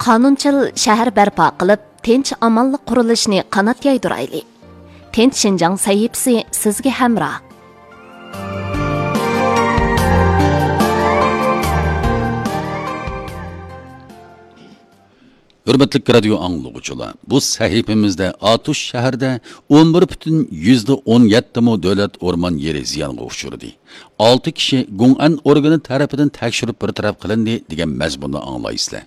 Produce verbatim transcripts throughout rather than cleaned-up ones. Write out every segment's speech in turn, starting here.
قانۇنچىل شەھەر بەرپا قىلىپ، تىنچ-ئامانلىق قۇرۇلۇشىنى قانات يايدۇرايلى. تىنچ شىنجاڭ سەھىپىسى سىزگە ھەمراھ. ھۆرمەتلىك رادىيو ئاڭلىغۇچىلار، بۇ سەھىپىمىزدە ئاتۇش شەھىرىدە ئون بىر پۈتۈن يۈزدە ئون يەتتە مو دۆلەت ئورمان يېرى زىيانغا ئۇچرىدى. ئالتە كىشى گۇڭئەن ئورگىنى تەرىپىدىن تەكشۈرۈپ بىر تەرەپ قىلىندى دېگەن مەزمۇننى ئاڭلايسىلەر.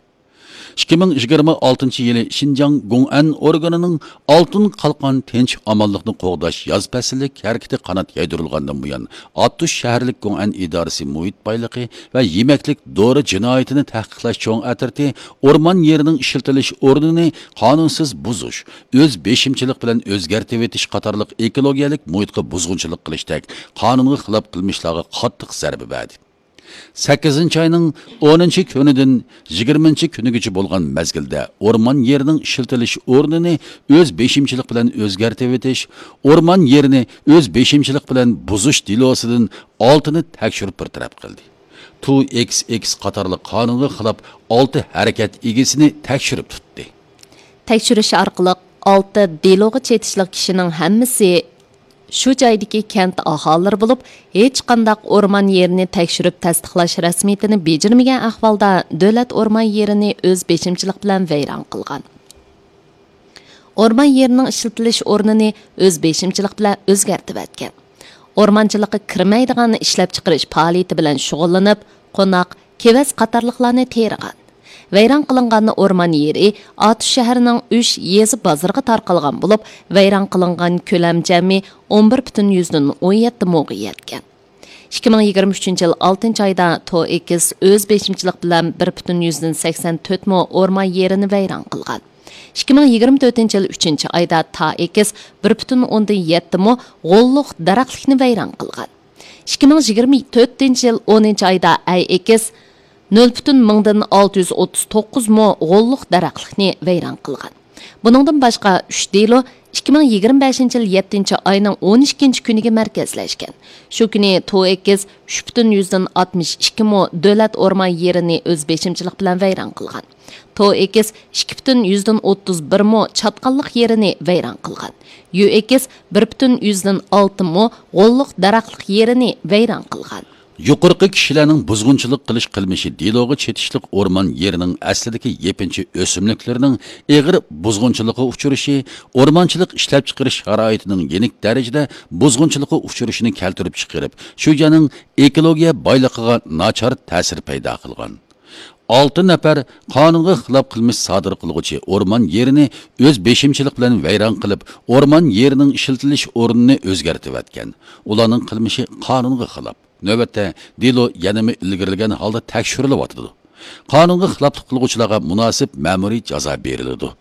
ئىككى مىڭ يىگىرمە ئالتىنچى يىلى شىنجاڭ گۇڭئەن ئورگىنىنىڭ ئالتۇن قالقان تىنچ ئامانلىقنى قوغداش ياز پەسىللىك ھەرىكىتى قانات يايدۇرۇلغاندىن بۇيان، ئاتۇش شەھەرلىك گۇڭئەن ئىدارىسى مۇھىت بايلىقى ۋە يېمەكلىك دورا جىنايىتىنى تەھقىقلەش چوڭ ئەترىتى ئورمان يېرىنىڭ ئىشلىتىلىش ئورنىنى قانۇنسىز بۇزۇش، ئۆز بېشىمچىلىق بىلەن ئۆزگەرتىۋېتىش قاتارلىق ئېكولوگىيەلىك مۇھىتقا بۇزغۇنچىلىق قىلىشتەك قانۇنغا خىلاپ قىلمىشلارغا قاتتىق زەربە بەردى. سەككىزىنچى ئاينىڭ ئونىنچى كۈنىدىن يىگىرمىنچى كۈنىگىچە بولغان مەزگىلدە ئورمان يېرىنىڭ ئىشلىتىلىش ئورنىنى ئۆز بېشىمچىلىق بىلەن ئۆزگەرتىۋېتىش، ئورمان يېرىنى ئۆز بېشىمچىلىق بىلەن بۇزۇش دېلوسىدىن ئالتىنى تەكشۈرۈپ بىر تەرەپ قىلدى. تو ئېكس ئېكس قاتارلىق قانۇنغا خىلاپ ئالتە ھەرىكەت ئىگىسىنى تەكشۈرۈپ تۇتتى. تەكشۈرۈش ئارقىلىق ئالتە دېلوغا چېتىشلىق كىشىنىڭ ھەممىسى شۇ جايدىكى كەنت ئاھالىلىرى بولۇپ، ھېچقانداق ئورمان يېرىنى تەكشۈرۈپ تەستىقلاش رەسمىيىتىنى بېجىرمىگەن ئەھۋالدا دۆلەت ئورمان يېرىنى ئۆز بېشىمچىلىق بىلەن ۋەيران قىلغان. ئورمان يېرىنىڭ ئىشلىتىلىش ئورنىنى ئۆز بېشىمچىلىق بىلەن ئۆزگەرتىۋەتكەن. ئورمانچىلىققا كىرمەيدىغان ئىشلەپچىقىرىش پائالىيىتى بىلەن شۇغۇللىنىپ، قوناق، كېۋەز قاتارلىقلارنى تېرىغان. ۋەيران قىلىنغان ئورمان يېرى ئاتۇش شەھىرىنىڭ ئۈچ يېزا بازىرىغا تارقالغان بولۇپ، ۋەيران قىلىنغان كۆلەم جەمئىي ئون بىر پۈتۈن يۈزدىن ئون يەتتە موغا يەتكەن. ئىككى مىڭ يىگىرمە ئۈچىنچى يىل ئالتىنچى ئايدا تو ئېكس ئۆز بېشىمچىلىق بىلەن بىر پۈتۈن يۈزدىن سەكسەن تۆت مو ئورمان يېرىنى ۋەيران قىلغان. ئىككى مىڭ يىگىرمە تۆتىنچى يىل ئۈچىنچى ئايدا تا ئېكس بىر پۈتۈن ئوندىن يەتتە مو غوللۇق دەرەخلىكنى ۋەيران قىلغان. ئىككى مىڭ يىگىرمە تۆتىنچى يىل ئونىنچى ئايدا ئەي ئېكس نۆل پۈتۈن مىڭدىن ئالتە يۈز ئوتتۇز توققۇز مو غوللۇق دەرەخلىكنى ۋەيران قىلغان. بۇنىڭدىن باشقا، ئۈچ دېلو ئىككى مىڭ يىگىرمە بەشىنچى يىل يەتتىنچى ئاينىڭ ئون ئىككىنچى كۈنىگە مەركەزلەشكەن. شۇ كۈنى تو ئېكس ئۈچ پۈتۈن يۈزدىن ئاتمىش ئىككى مو دۆلەت ئورمان يېرىنى ئۆز بېشىمچىلىق بىلەن ۋەيران قىلغان. تو ئېكس ئىككى پۈتۈن يۈزدىن ئوتتۇز بىر مو چاتقاللىق يېرىنى ۋەيران قىلغان. يۈ ئېكس بىر پۈتۈن يۈزدىن ئالتە مو غوللۇق دەرەخلىك يېرىنى ۋەيران قىلغان. يۇقىرىقى كىشىلەرنىڭ بۇزغۇنچىلىق قىلىش قىلمىشى دېلوغا چېتىشلىق ئورمان يېرىنىڭ ئەسلىدىكى يېپىنچا ئۆسۈملۈكلىرىنىڭ ئېغىر بۇزغۇنچىلىققا ئۇچرىشى، ئورمانچىلىق ئىشلەپچىقىرىش شارائىتىنىڭ يېنىك دەرىجىدە بۇزغۇنچىلىققا ئۇچرىشىنى كەلتۈرۈپ چىقىرىپ، شۇ يەرنىڭ ئېكولوگىيە بايلىقىغا ناچار تەسىر پەيدا قىلغان. ئالتە نەپەر قانۇنغا خىلاپ قىلمىش سادىر قىلغۇچى ئورمان يېرىنى ئۆز بېشىمچىلىق بىلەن ۋەيران قىلىپ، ئورمان يېرىنىڭ ئىشلىتىلىش ئورنىنى ئۆزگەرتىۋەتكەن. ئۇلارنىڭ قىلمىشى قانۇنغا خىلاپ. نۆۋەتتە، دېلو يەنىمۇ ئىلگىرىلىگەن ھالدا تەكشۈرۈلۈۋاتىدۇ. قانۇنغا خىلاپلىق قىلغۇچىلارغا مۇناسىپ مەمۇرىي جازا بېرىلىدۇ.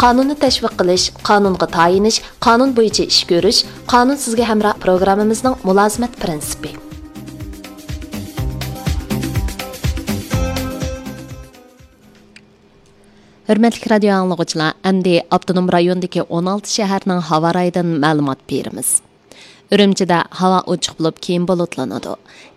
قانۇننى تەشۋىق قىلىش، قانۇنغا تايىنىش، قانۇن بويىچە ئىش كۆرۈش، قانۇن سىزگە ھەمراھ پروگراممىمىزنىڭ مۇلازىمەت پىرىنسىپى. ھۆرمەتلىك رادىيو ئاڭلىغۇچىلار، ئەمدى ئاپتونوم رايوندىكى ئون ئالتە شەھەرنىڭ ھاۋا رايىدىن مەلۇمات بېرىمىز. ئۈرۈمچىدە ھاۋا ئوچۇق بولۇپ، كېيىن بۇلۇتلىنىدۇ.